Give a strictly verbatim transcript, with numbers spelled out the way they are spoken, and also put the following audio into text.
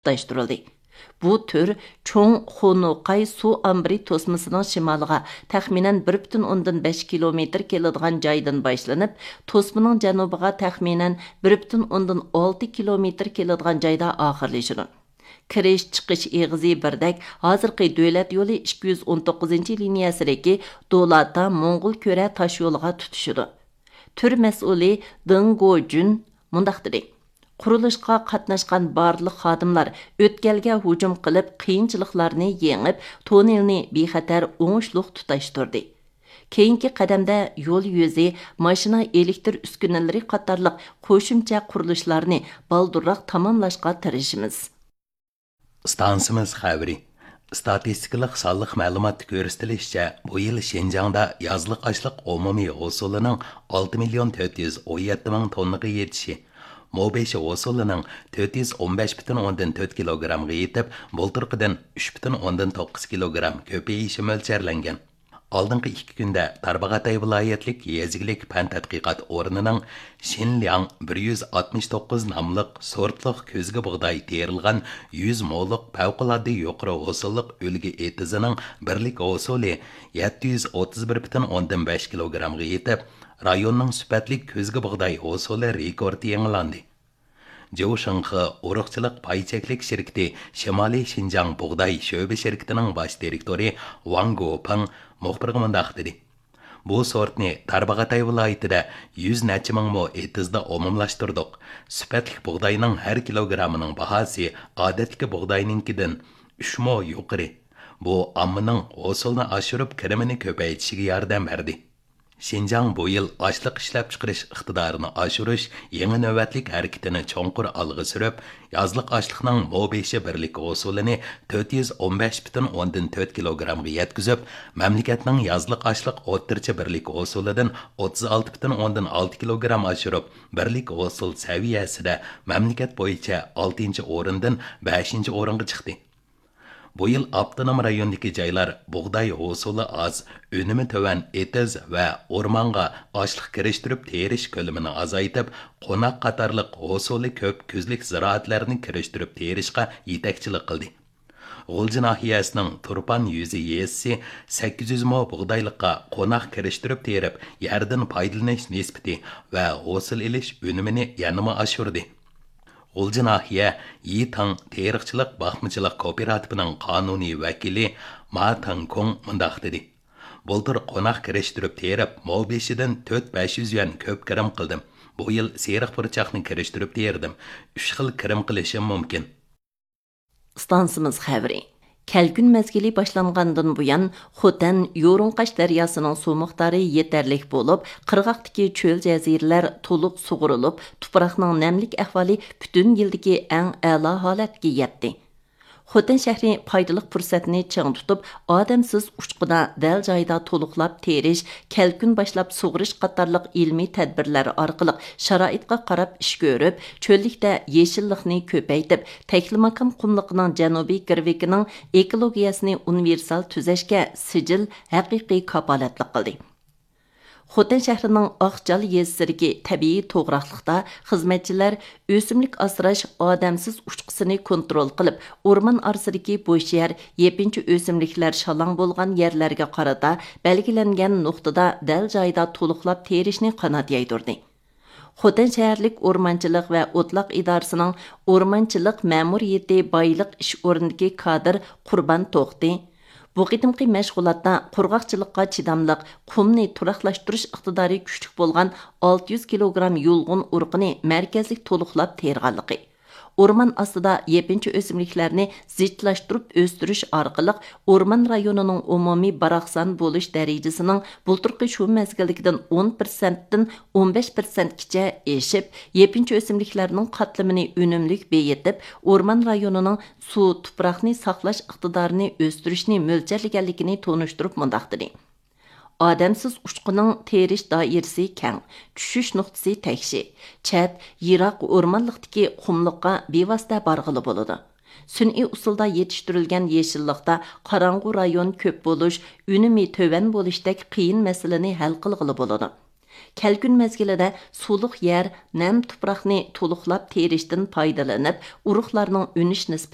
تۇتاشتۇرۇلدى. بۇ تۈر چوڭ خونوقاي سۇ ئامبىرى توسمىسىنىڭ شىمالىغا تەخمىنەن بىر پۈتۈن ئوندىن بەش كىلومېتىر كېلىدىغان جايدىن باشلىنىپ، توسمىنىڭ جەنۇبىغا تەخمىنەن بىر پۈتۈن ئوندىن ئالتە كىلومېتىر كېلىدىغان جايدا ئاخىرلىشىدۇ. كىرىش، چىقىش ئېغىزى بىردەك، ھازىرقى دۆلەت يولى ئىككى يۈز ئون توققۇزىنچى لىنىيەسىدىكى دولاتا موڭغۇل كۆرە تاشيولىغا تۇتىشىدۇ. تۈر مەسئۇلى دېڭ گوجۈن مۇنداق دېدى: قۇرۇلۇشقا قاتناشقان بارلىق خادىملار ئۆتكەلگە ھۇجۇم قىلىپ، قىيىنچىلىقلارنى يېڭىپ، توننېلنى بىخەتەر، ئوڭۇشلۇق تۇتاشتۇردى. كېيىنكى قەدەمدە يول يۈزى، ماشىنا ئېلېكتىر ئۈسكۈنىلىرى قاتارلىق قوشۇمچە قۇرۇلۇشلارنى بالدۇرراق تاماملاشقا تىرىشىمىز. ئىستانسىمىز خەۋىرى. ئىستاتىستىكىلىق سانلىق مەلۇماتتا كۆرسىتىلىشىچە، بۇ يىل شىنجاڭدا يازلىق ئاشلىق ئومۇمىي ھوسۇلىنىڭ ئالتە مىليون تۆت يۈز ئون يەتتە مىڭ توننىغا يېتىشى، مو بېشى ھوسۇلىنىڭ تۆت يۈز ئون بەش پۈتۈن ئوندىن تۆت كىلوگرامغا يېتىپ، بۇلتۇرقىدىن ئۈچ پۈتۈن ئوندىن توققۇز كىلوگرام كۆپىيىشى مۆلچەرلەنگەن. ئالدىنقى ئىككى كۈندە تارباغاتاي ۋىلايەتلىك يېزا ئىگىلىك پەن تەتقىقات ئورنىنىڭ شىنلياڭ بىر يۈز ئاتمىش توققۇز ناملىق سورتلۇق كۆزگە بۇغداي تېرىلغان يۈز مولۇق پەۋقۇلئاددە يۇقىرى ھوسۇللۇق ئۈلگە ئېتىزىنىڭ بىرلىك ھوسۇلى يەتتە يۈز ئوتتۇز بىر پۈتۈن ئوندىن بەش كىلوگرامغا يېتىپ، رايوننىڭ سۈپەتلىك كۆزگە بۇغداي ھوسۇلى رېكورتى يېڭىلاندى. جيۇ شىڭخې ئۇرۇقچىلىق پاي چەكلىك شىركىتى شىمالىي شىنجاڭ بۇغداي شۆبە شىركىتىنىڭ باش دىرېكتورى ۋاڭ گوپېڭ مۇخبىرغا مۇنداق دېدى: بۇ سورتنى تارباغاتاي ۋىلايىتىدە يۈز نەچچە مىڭ مو ئېتىزدا ئومۇملاشتۇردۇق. سۈپەتلىك بۇغداينىڭ ھەر كىلوگرامىنىڭ باھاسى ئادەتتىكى بۇغداينىڭكىدىن ئۈچ مو يۇقىرى. بۇ ئاممىنىڭ ھوسۇلنى ئاشۇرۇپ، كىرىمىنى كۆپەيتىشىگە ياردەم بەردى. شىنجاڭ بۇ يىل ئاشلىق ئىشلەپچىقىرىش ئىقتىدارىنى ئاشۇرۇش يېڭى نۆۋەتلىك ھەرىكىتىنى چوڭقۇر ئالغا سۈرۈپ، يازلىق ئاشلىقنىڭ مو بېشى بىرلىك ھوسۇلىنى تۆت يۈز ئون بەش پۈتۈن ئوندىن تۆت كىلوگرامغا يەتكۈزۈپ، مەملىكەتنىڭ يازلىق ئاشلىق ئوتتۇرىچە بىرلىك ھوسۇلىدىن ئوتتۇز ئالتە پۈتۈن ئوندىن ئالتە كىلوگرام ئاشۇرۇپ، بىرلىك ھوسۇل سەۋىيەسىدە مەملىكەت بويىچە ئالتىنچى ئورۇندىن بەشىنچى ئورۇنغا چىقتى. بۇ يىل ئاپتونوم رايوندىكى جايلار بۇغداي ھوسۇلى ئاز، ئۈنۈمى تۆۋەن ئېتىز ۋە ئورمانغا ئاشلىق كىرىشتۈرۈپ تېرىش كۆلىمىنى ئازايتىپ، قوناق قاتارلىق ھوسۇلى كۆپ كۈزلۈك زىرائەتلەرنى كىرىشتۈرۈپ تېرىشقا يېتەكچىلىك قىلدى. غۇلجا ناھىيەسىنىڭ تۇرپان يۈزى يېزىسى سەككىز يۈز مو بۇغدايلىققا قوناق كىرىشتۈرۈپ تېرىپ، يەردىن پايدىلىنىش نىسبىتى ۋە ھوسۇل ئېلىش ئۈنۈمىنى يەنىمۇ ئاشۇردى. غۇلجا ناھىيە يىتاڭ تېرىقچىلىق باقمىچىلىق كوپىراتىپىنىڭ قانۇنىي ۋەكىلى ما تاڭكۇڭ مۇنداق دېدى: بۇلتۇر قوناق كىرىشتۈرۈپ تېرىپ، مو بېشىدىن تۆت بەش يۈز يۈەن كۆپ كىرىم قىلدىم. بۇ يىل سېرىق پۇرچاقنى كىرىشتۈرۈپ تېرىدىم. ئۈچ خىل كىرىم قىلىشىم مۇمكىن. ئىستانسىمىز خەۋىرى. كەلكۈن مەزگىلى باشلانغاندىن بۇيان، خوتەن يورۇڭقاش دەرياسىنىڭ سۇ مىقدارى يېتەرلىك بولۇپ، قىرغاقتىكى چۆل جەزىرىلەر تولۇق سۇغۇرۇلۇپ، تۇپراقنىڭ نەملىك ئەھۋالى پۈتۈن يىلدىكى ئەڭ ئەلا ھالەتكە يەتتى. خوتەن شەھىرى پايدىلىق پۇرسەتنى چىڭ تۇتۇپ، ئادەمسىز ئۇچقۇندا دەل جايىدا تولۇقلاپ تېرىش، كەلكۈن باشلاپ سۇغىرىش قاتارلىق ئىلمىي تەدبىرلەر ئارقىلىق شارائىتقا قاراپ ئىش كۆرۈپ، چۆللۈكتە يېشىللىقنى كۆپەيتىپ، تەكلىماكان قۇملۇقىنىڭ جەنۇبىي گىرۋىكىنىڭ ئېكولوگىيەسىنى ئۇنىۋېرسال تۈزەشكە سىجىل ھەقىقىي كاپالەتلىك قىلدى. خوتەن شەھىرىنىڭ ئاقجال يېزىسىدىكى تەبىئىي توغراقلىقتا خىزمەتچىلەر ئۆسۈملۈك ئاسراش ئادەمسىز ئۇچقۇسىنى كونترول قىلىپ، ئورمان ئارىسىدىكى بوش يەر، يېپىنچا ئۆسۈملۈكلەر شالاڭ بولغان يەرلەرگە قارىتا بەلگىلەنگەن نۇقتىدا دەل جايىدا تولۇقلاپ تېرىشنى قانات يايدۇردى. خوتەن شەھەرلىك ئورمانچىلىق ۋە ئوتلاق ئىدارىسىنىڭ ئورمانچىلىق مەمۇرىيىتى بايلىق ئىش ئورنىدىكى كادىر قۇربان توختى بۇ قېتىمقى مەشغۇلاتتا قۇرغاقچىلىققا چىداملىق، قۇمنى تۇراقلاشتۇرۇش ئىقتىدارى كۈچلۈك بولغان ئالتە يۈز كىلوگرام يۇلغۇن ئۇرۇقىنى مەركەزلىك تولۇقلاپ تېرىغانلىقى، ئورمان ئاستىدا يېپىنچا ئۆسۈملۈكلەرنى زىچلاشتۇرۇپ ئۆستۈرۈش ئارقىلىق ئورمان رايونىنىڭ ئومۇمىي باراقسان بولۇش دەرىجىسىنىڭ بۇلتۇرقى شۇ مەزگىلدىكىدىن ئون پىرسەنتتىن ئون بەش پىرسەنتكىچە ئېشىپ، يېپىنچا ئۆسۈملۈكلەرنىڭ قاتلىمىنى ئۈنۈملۈك بېيىتىپ، ئورمان رايونىنىڭ سۇ، تۇپراقنى ساقلاش ئىقتىدارىنى ئۆستۈرۈشنى مۆلچەرلىگەنلىكىنى تونۇشتۇرۇپ مۇنداق دېدى: ئادەمسىز ئۇچقۇنىڭ تېرىش دائىرىسى كەڭ، چۈشۈش نۇقتىسى تەكشى، چەت، يىراق ئورمانلىقتىكى قۇملۇققا بىۋاسىتە بارغىلى بولىدۇ. سۈنئىي ئۇسۇلدا يېتىشتۈرۈلگەن يېشىللىقتا قاراڭغۇ رايون كۆپ بولۇش، ئۈنۈمى تۆۋەن بولۇشتەك قىيىن مەسىلىنى ھەل قىلغىلى بولىدۇ. كەلكۈن مەزگىلىدە سۇلۇق يەر، نەم تۇپراقنى تولۇقلاپ تېرىشتىن پايدىلىنىپ، ئۇرۇقلارنىڭ ئۈنۈش نىسبىتى